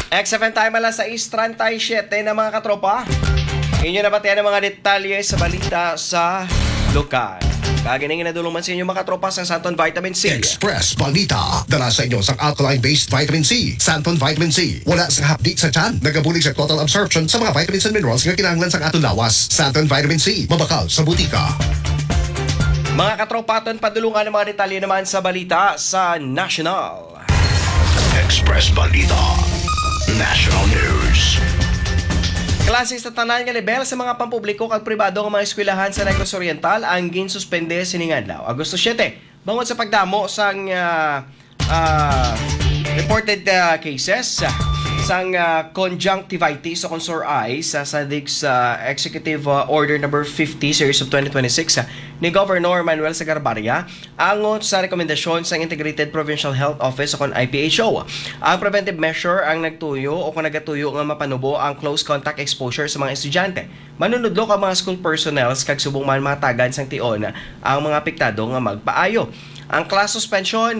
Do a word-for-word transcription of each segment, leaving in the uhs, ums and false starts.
X F M time, alas sais treinta y siete na, mga katropa. Inyo nabatian ang mga detalye sa balita sa lokal. Kag ining nadulong man sa inyo, mga katropa, sa Santon Vitamin C. Express Balita. Dala sa inyo sang alkaline-based vitamin C, Santon Vitamin C. Wala sang hapdi sa tiyan, nagabulig sa total absorption sa mga vitamins and minerals nga kinahanglan sang aton lawas. Santon Vitamin C, mabakal sa butika. Mga katropa, aton padulungan ang mga detalye naman sa balita sa national. Express Balita. National News. Klase sa tanan nga lebel sa mga pampubliko kag pribado nga mga eskwelahan sa Negros Oriental ang ginsuspende sining adlaw, Agosto siete, bangod sa pagdamo sang, ah, ah, reported, ah, cases, ah, sang, ah, conjunctivitis o kon sore eyes, sa, sa dig sa Executive, ah, Order Number fifty, Series of twenty twenty-six, ah, ni Governor Manuel Sagarbarria, angot sa rekomendasyon sang Integrated Provincial Health Office o kon I P H O. Ang preventive measure ang nagtuyo o kon nagatuyo nga mapanubo ang close contact exposure sa mga estudyante, manunudlo kag mga school personnels, kag subong man mahatagan sang tion ang mga apektado nga magpaayo. Ang class suspension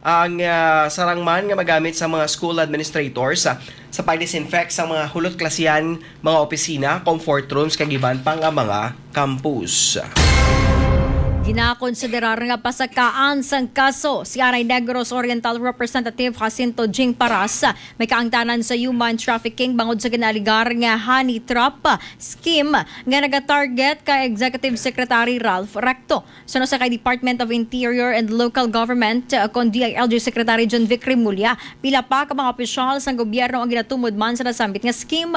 ang, ah, sarang man nga magamit sa mga school administrators, ah, sa pag-disinfect sa mga hulot klasihan, mga opisina, comfort rooms, kag iban pa nga mga campus. Ginakonsiderar nga pasakaan sang kaso si anay Negros Oriental Representative Jacinto Jing Paras, may kaangtanan sa human trafficking bangod sa ginaaligar nga honey trap scheme nga nagatarget kay Executive Secretary Ralph Recto. Suno sa kay Department of Interior and Local Government, uh, kon D I L G Secretary John Vic Remulla, pila pa ka mga opisyal sang gobyerno ang ginatumod man sa nasambit nga scheme.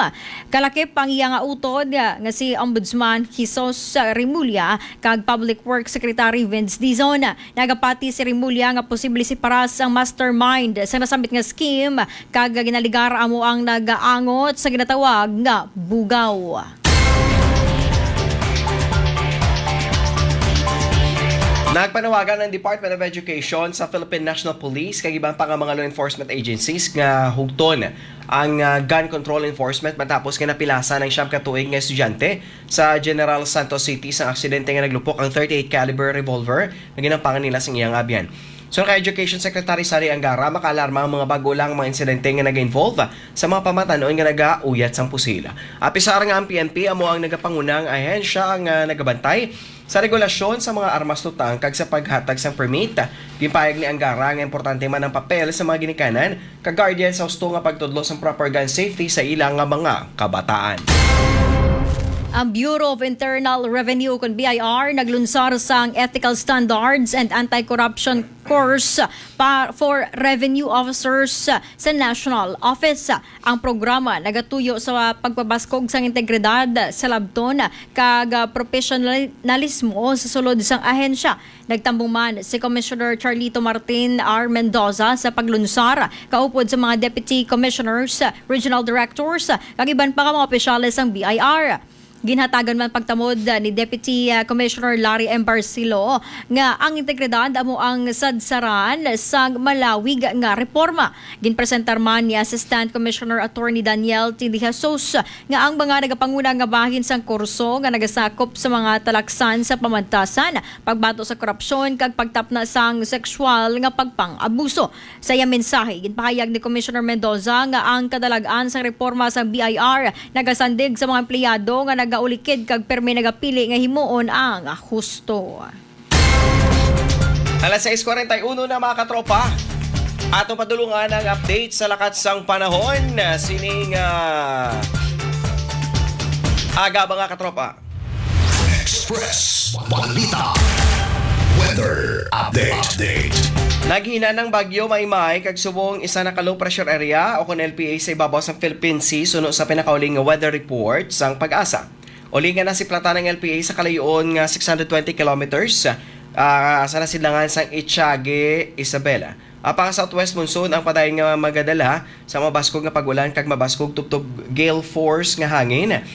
Kalakip ang iya nga utod, uh, nga si Ombudsman Jesus Remulla kag Public Works Secretary Vince Dizon. Nagapati si Remulla nga posible si Paras ang mastermind sa nasambit nga scheme, kag ginaligar amo ang nagaangot sa ginatawag nga bugaw. Nagpanawagan ang Department of Education sa Philippine National Police kag iban pa nga mga law enforcement agencies nga hugton ang, ah, gun control enforcement matapos nga napilasan ang siyam ka tuig nga estudyante sa General Santos City sa aksidente nga naglupok ang thirty-eight caliber revolver nga ginampangan nila sa iyang abyan. Suno kay Education Secretary Sari Angara, makaalarma ang mga bag-o lang mga insidente nga nag-involve sa mga pamatan-on nga nagauyat sang pusil. Apisar nga ang P N P amo ang nagapanguna nga ahensya nga nagabantay sa regulasyon sa mga armas tutang kag sa paghatag sang permit. Ginpahayag ni Angara nga importante man ang papel sa mga ginikanan kag guardian sa husto nga pagtudlo sang proper gun safety sa ila nga mga kabataan. Ang Bureau of Internal Revenue, kon B I R, naglunsar sang Ethical Standards and Anti-Corruption Course pa, for Revenue Officers sa National Office. Ang programa nagatuyo sa pagpabaskog sang integridad sa labton kag, ah, profesionalismo sa sulod sang ahensya. Nagtambong man si Commissioner Charlito Martin R. Mendoza sa paglunsar, kaupod sa mga Deputy Commissioners, Regional Directors, kag iban pa nga mga opisyales sang B I R. Ginhatagan man pagtamod, ah, ni Deputy, ah, Commissioner Larry M. Barcelo nga ang integridad amo ang sadsaran sang malawig nga reforma. Ginpresentar man ni Assistant Commissioner Attorney Daniel T. De Jesus nga ang mga nagapanguna nga bahin sang kurso nga nagasakop sa mga talaksan sa pamantasan, pagbato sa korupsyon, kag pagtapna sang sexual nga pagpang-abuso. Sa iya mensahe, ginpahayag ni Commissioner Mendoza nga ang kadalag-an sang reforma sang B I R nagasandig sa mga empleyado nga nagaulikid kag pirmi nagapili nga himuon ang husto. Alas sais kwarenta y uno na, mga katropa. Atong padulungan ang update sa lakat sang panahon sining, ah, aga, mga katropa. Express Balita. Weather update. Naghinanang bagyo Maymay kag subong isa na ka low pressure area o kon L P A sa ibabaw sang Philippine Sea suno sa pinakauling nga weather report sang PAGASA. Uling nga nasiplatan ang L P A sa kalayo-on nga six hundred twenty kilometers, ah, sa nasidlangan sang Echage, Isabela. Apan ang southwest monsoon ang padayon nga magadala sa mabaskog nga pag-ulan kag mabaskog tubtob gale force nga hangin